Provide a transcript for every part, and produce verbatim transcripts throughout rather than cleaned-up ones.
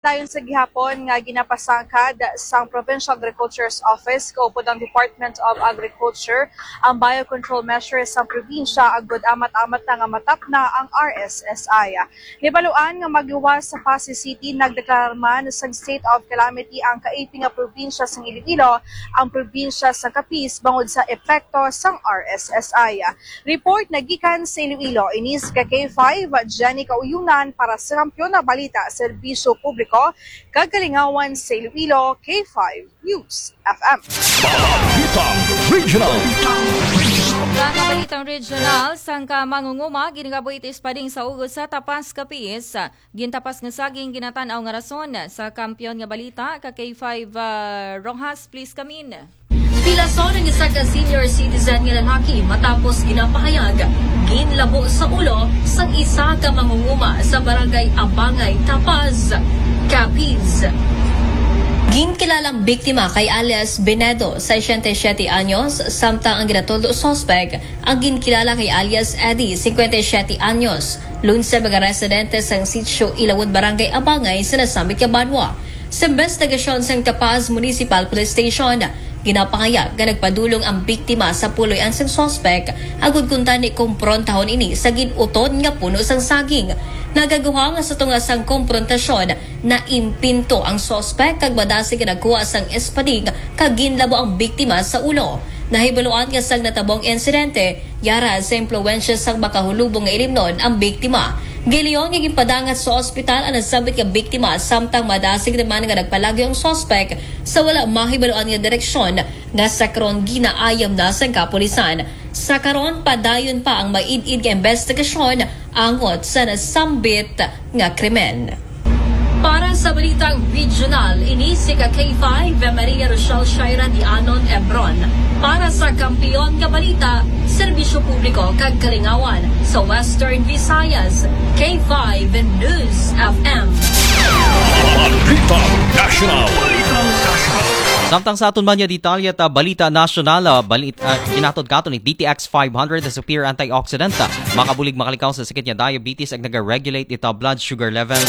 Dayon sa gihapon nga ginapasangkad sang Provincial Agriculture's Office kaupod ang Department of Agriculture ang biocontrol measures sa probinsya agud amat-amat na nga matapna ang R S S I. Nibaluan nga magluwas sa Passi City, nagdeklarar man sang state of calamity ang kaiti nga probinsya sang Iloilo, ang probinsya sang Capiz bangod sa epekto sang R S S I. Report na gikan sa Iloilo, ini si ka K five, Jenny Kauyunan para sa Kampiyon na Balita, Serbisyo Publiko, kag Kalingawan sa Iloilo, K five News F M. Balitang Regional. Mga balitang regional, sangka mangunguma, ginagabuhi it espading sa ugos sa Tapas, Capiz. Gintapas nga saging ginatan-aw nga rason sa Kampiyon nga Balita, ka K five, ah, Rojas, please come in. Pilason ang isa ka senior citizen nga lalaki matapos ginapahayag ginlabo sa ulo sang isa ka mangunguma sa barangay Abangay, Tapaz, Capiz. Ginkilalang biktima kay alias Benedo, sesenta y siete anyos, samtang ang ginatudlo suspek ang ginkilala kay alias Eddie, singkwenta y siyete anyos, lungsod mga residente sang sitio Ilawod, Barangay Abangay sa nasambit nga banwa. Sa investigasyon sang Tapaz Municipal Police Station, ginapahayag nga nagpadulong ang biktima sa puloy-an sang suspek agud kuntani komprontahan ini sa gin-utod nga puno sang saging. Nagaguha nga sa tunga sang komprontasyon, naimpinto ang suspek kag madasig nga nagkuha sang espading kag ginlabo ang biktima sa ulo. Nahibaluan nga sang natabong insidente, yara sa impluwensya sang makahulubong nga ilimnon ang biktima. Giingon nga ginpadangat sa ospital ang nasambit nga biktima, samtang madasig naman nga nagpalagyo ang suspek sa wala mahibaluan nga direksyon nga sa karon ginaayam na sang kapulisan. Sa karon, padayon pa ang maid-id nga investigasyon angot sa nasambit nga krimen. Para sa balitang regional, ini si ka K five, Maria Rochelle Shaira Dianon Ebron. Para sa Kampiyon nga Balita, Serbisyo Publiko kag Kalingawan sa Western Visayas, K five News F M. Balitang National. Samtang sa aton man nga detalye ta balita nasyonal, ah, balit, ah, ginatod katon ni D T X five hundred, the superior antioxidant, ah, makabulig makalikaw sa sakit nga diabetes ag naga-regulate ita blood sugar level.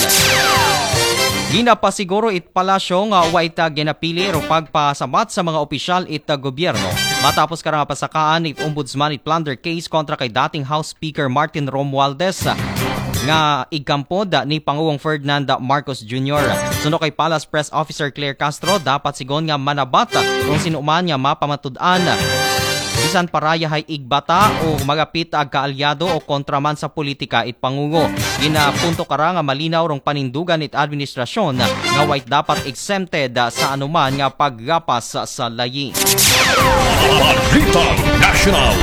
Ginapasiguro it palasyo nga wa ita ginapili ro pagpasabat sa mga opisyal it gobyerno matapos kara nga pasakaan it ombudsman it plunder case kontra kay dating House Speaker Martin Romualdez nga igkampod ni Pangulong Ferdinand Marcos Junior. Suno kay Palace Press Officer Claire Castro, dapat sigon nga manabat kung sino man nga mapamatud-an, bisan pa ra yahay igbata o magapit ag kaalyado o kontra man sa politika it pangulo. Ginapunto kara nga malinaw rong panindugan it administrasyon nga way dapat exempted sa anuman nga paggapas sa layi. Balitang National.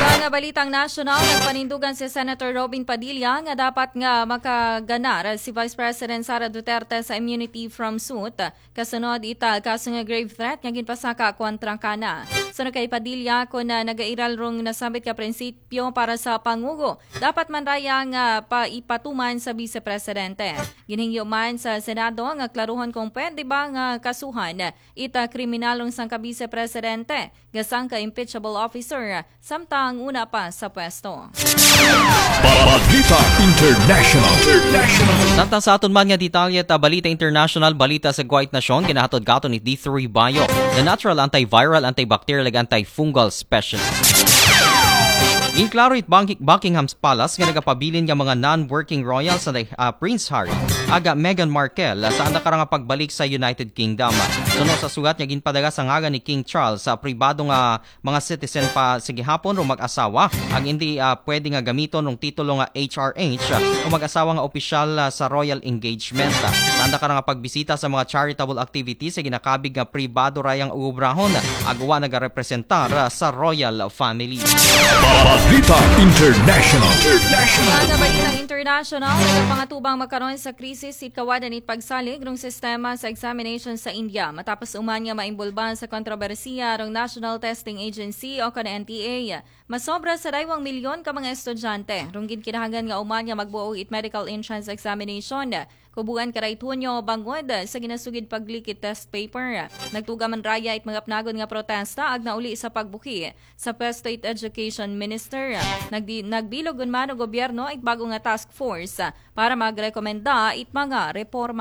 Sa nga balitang nasyonal, nagpanindugan si Senator Robin Padilla nga dapat nga makaganar si Vice President Sara Duterte sa immunity from suit kasunod ita kaso nga grave threat nga ginpasaka kontra kana. Suno kay Padilla, kun, ah, nagairal rong nasambit ka prinsipyo para sa pangulo, dapat man ra ya nga paipatuman sa Vice Presidente. Ginhingyo man sa Senado nga klaruhon kung pwede ba nga kasuhan ita kriminal rong sangka Vice Presidente nga sangka impeachable officer samtang una pa sa pwesto. Balita International. Samtang sa aton man nga detalye ta balita international, balita sa Kuwait Nasyon, ginahatod katon ni D three Bio, the natural antiviral, antibacterial, ug antifungal specialist. Ginklaro it Bucking-, Buckingham Palace nga nagapabilin nga mga non-working royals sa, ah, Prince Harry aga Meghan Markle, ah, sa anda kara nga pagbalik sa United Kingdom. Suno sa sugat nga ginpadala sa ngalan ni King Charles sa pribado nga mga citizen pa sa gihapon o mag-asawa ang hindi, ah, pwede nga gamiton ng titulo nga H R H o mag-asawa nga opisyal, ah, sa royal engagement. Tanda ka nga pagbisita sa mga charitable activities sa ginakabig nga pribado rayang ubrahon ag wa nagarepresentar, ah, sa royal family. Balita International. Mga balitang international, nagapangatubang makaron sa krisis it kawadan it pagsalig rong sistema sa examination sa India matapos uman nga maimbulba sa kontrobersiya rong National Testing Agency o kon N T A. Masobra sa daywang milyon ka mga estudyante rong ginkinahanglan nga uman nga magbuo it medical entrance examination Kubuan kara it Hunyo bangod sa ginasugid paglikit test paper. Nagtuga man raya it mga panagon nga protesta ag nauli sa pagbuki sa Pesto it Education Minister. Nagdi, nagbilog man o gobyerno it bago nga task force para magrekomenda it mga reforma.